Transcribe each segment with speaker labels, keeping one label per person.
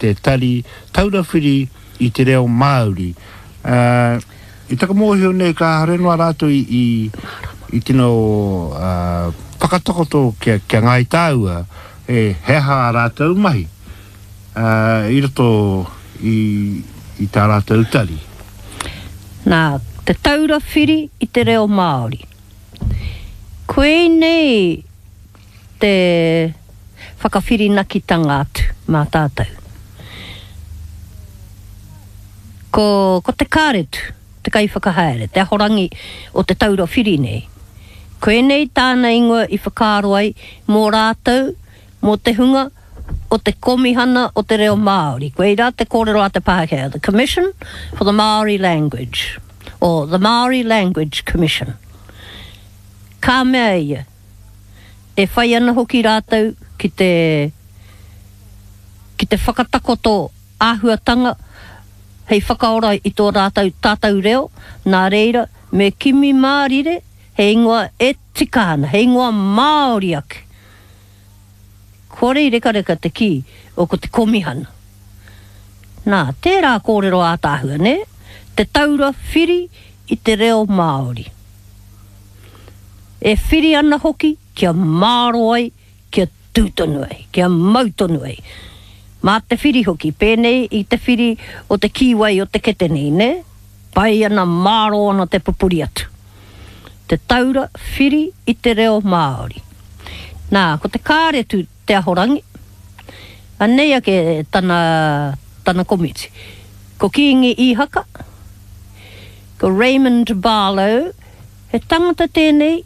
Speaker 1: Te Tari Taura Whiri i te Reo Māori. I taku mōhio nei kāore noa rātou i tino whakatakoto kia Ngāi Tāua he aha ā rātou mahi i roto i tā rātou tari.
Speaker 2: Nā Te Taura Whiri i te Reo Māori. Koinei te whakawhirinakitanga atu mā tātou. Ko, ko Te Kāretu te kaiwhakahaere, te ahorangi o Te Taura Whiri nei. Koinei tāna ingoa i whakaaro ai mō rātou, mō te hunga o te Komihana o te Reo Māori. Koirā te kōrero a te Pākehā, the Commission for the Māori Language, or the Māori Language Commission. Ka mea ia, E whai ana hoki rātou ki te ki te whakatakoto āhuatanga hei whakaora i tō rātou tātou reo, nā reira me kimi mārire he ingoa e tika ana, he ingoa Māori ake. Kore i rekareka te kī o ko te Komihana. Nā, tērā kōrero ātaahua, nē? Te taura whiri i te reo Māori. E whiri ana hoki kia māro ai, kia tū tonu ai, kia mau tonu ai. Mā te whiri hoki, pēnei i te whiri o te kīwai o te kete nei, nē? Pai ana, mārō ana te pupuri atu. Te taura whiri i te reo Māori. Nā, ko te kāretu te ahorangi, anei ake tana, tana komiti. Ko Kīngi Īhaka, ko Raymond Barlow, He tangata tēnei,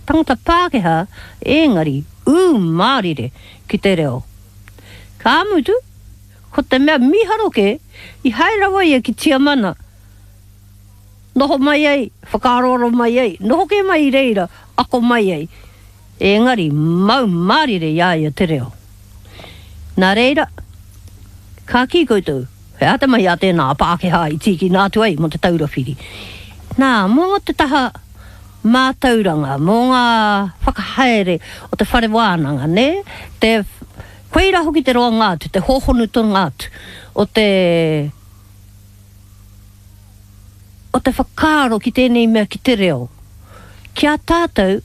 Speaker 2: tangata Pākehā, ēngari ū mārire ki te reo. Ka mutu, ko te mea mīharo kē, i haere rawa ia ki Tiamana, noho mai ai, whakaaroaro mai ai, noho kē mai i reira, ako mai ai, ēngari mau mārire i a ia te reo. Nā reira, ka kī koutou, He aha te mahi a tēnā Pākehā i tīkina atu ai mō Te Taura Whiri? Nā, mō te taha mātauranga, mō ngā whakahaere o te whare wānanga, nē? Te, koirā hoki te roanga atu, te hōhonutanga atu o te, o te whakaaro ki tēnei mea ki te reo. Ki a tātou,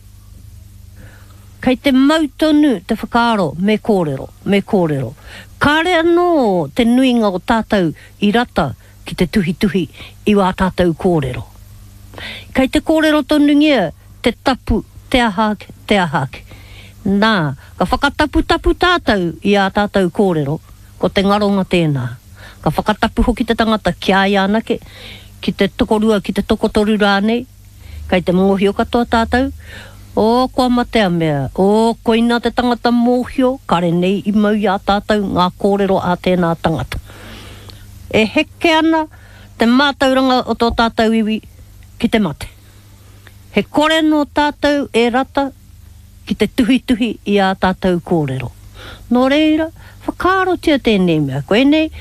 Speaker 2: kei te mau tonu te whakaaro me kōrero, me kōrero. Kāre anō te nuinga o tātou i rata ki te tuhituhi i wā tātou kōrero. Kei te kōrero tonungia te tapu, te aha ake, te aha ake. Nā, ka whakataputapu tātou i ā tātou kōrero, ko te ngaronga tēnā. Ka whakatapu hoki te tangata ki a ia anake, ki te tokorua, ki te tokotoru rānei, kei te mōhio katoa tātou, oh, kua mate a mea, oh, koina te tangata mōhio, kare nei i mau i a tātou ngā kōrero a tēnā tangata. E heke ana te mātauranga o tō tātou iwi ki te mate. He kore nō tātou e rata ki te tuhituhi i ā tātou kōrero. Nō reira, whakaarotia tēnei mea. Koinei,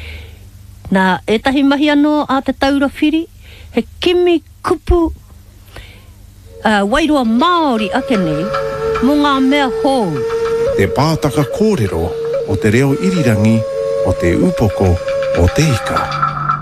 Speaker 2: nā ētahi mahi anō a Te Taura Whiri, he kimi kupu wairua Māori ake nei mō ngā mea hou.
Speaker 3: Te pātaka kōrero o te reo irirangi o Te Upoko o Te Ika.